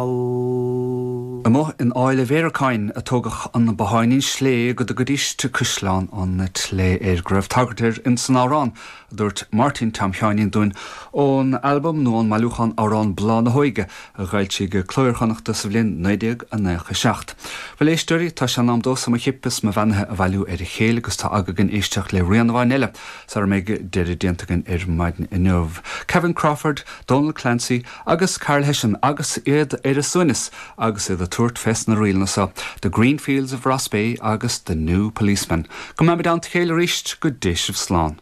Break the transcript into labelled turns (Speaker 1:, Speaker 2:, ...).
Speaker 1: Amuigh in Áill a' Bhéaracáin a tógadh an botháinín slé go dtugaidís Caisleán an tSlé air, go raibh tagairt air ins an amhrán a dúirt Máirtín Tom Sheáinín dúinn ón albam nó ón mbailiúchán amhrán Bláth na hÓige a dh'fhoilsigh Cló Iar-Chonnachta sa bhliain 1997. Bhuel, a éisteoirí, tá sé in am domhsa mo chip is mo bheannaithe a bhailiú ar a chéile agus tá aga againn éisteacht le rian amháin eile sara mbeidh deireadh déanta againn ar maidin inniu. Kevin Crawford, Dónal Clancy agus Karl Hession agus iad ar a suaimhneas agus iad ag tabhairt fés na ríleanna so, The Green Fields of Rossbeigh agus The New Policeman. Go mbeimid i dteannta a chéile arís, go dté sibh slán.